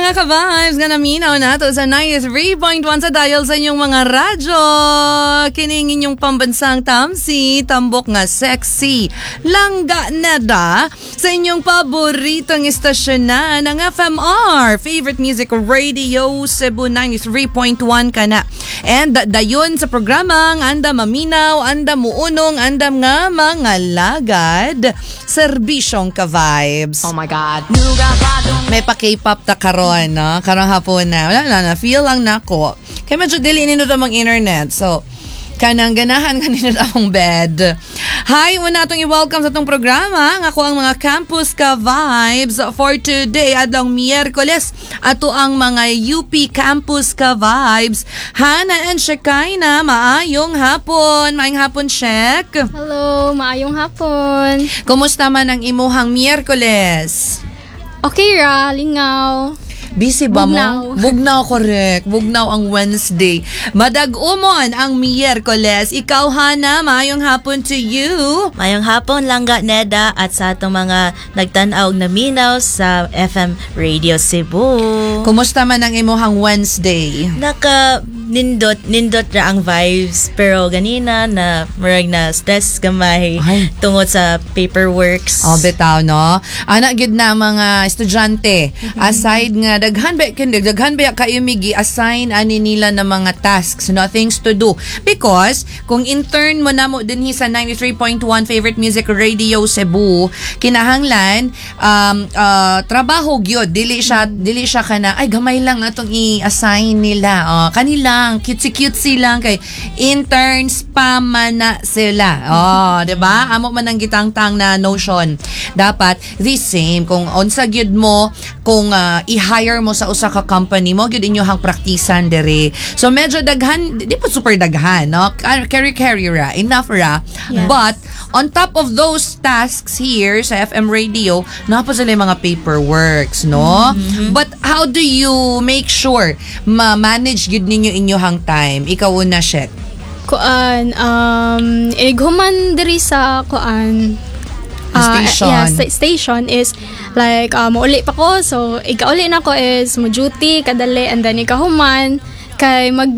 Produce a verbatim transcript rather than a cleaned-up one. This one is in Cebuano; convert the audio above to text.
mga ka-vibes nga naminaw nato sa ninety-three point one sa dial sa inyong mga radyo. Kining inyong pambansang tamsi, tambok nga sexy. Langga nada sa inyong paboritong istasyonan ng F M R, Favorite Music Radio Cebu ninety-three point one kana. And dayon sa programang andam maminaw, andam muunong, andam nga mga lagad, serbisyong ka-vibes. Oh my God. May pa K-pop ta karon, no? Karong hapon na. Wala na, na feel lang nako. Kaya medyo dili nindot among internet. So, kanang ganahan kanino among bed. Hi, una atong i-welcome sa atong programa nga ako ang mga Campus Ka Vibes for today, adlong Miyerkules. Ato ang mga U P Campus Ka Vibes. Hana and Shekinah, maayong hapon. Maayong hapon, Shek. Hello, maayong hapon. Kumusta man ang imuhang Miyerkules? Okay ra, lingaw. Busy ba mo? Bugnaw. Bugnaw, correct. Bugnaw ang Wednesday. Madag-umon ang Miyerkules. Ikaw, Hana, maayong hapon to you. Mayong hapon, Langga Neda, at sa atong mga nagtan-aw og naminaw sa F M Radio Cebu. Kumusta man ang imuhang Wednesday? Naka nindot nindot ra ang vibes, pero ganina na murag na stress gamay Ay. Tungod sa paperworks. Oh, bitaw, no? Ana gid na mga estudyante. Aside nga daghan ba kin daghan ba kayo migi assign ani nila na mga tasks, no, things to do. Because kung intern mo na mo dinhi sa ninety-three point one Favorite Music Radio Cebu, kinahanglan um uh, trabaho gyud, dili siya dili siya kana ay gamay lang atong i-assign nila. Oh, kanilang cutesy cutesy lang kay interns pa man na sila. Oh, 'di ba? Amo man ang gitangtang na notion. Dapat the same kung unsa gyud mo kung ah, i-hire mo sa usa ka company mo gyud inyohang praktisan diri. So medyo daghan, di pa super daghan, no? Carry carry ra, enough ra. Yes. But on top of those tasks here sa F M radio, naa pa sila yung mga paperworks, no? But how do you make sure ma-manage gyud ninyo inyohang time? Ikaw una, Shek. Kuan, um, ighuman diri sa kuan, ah, Station. Yeah, sta- station is like uh, muuli pa ko, so ikauli na ko is mo duty kadali and then ikahuman kay mag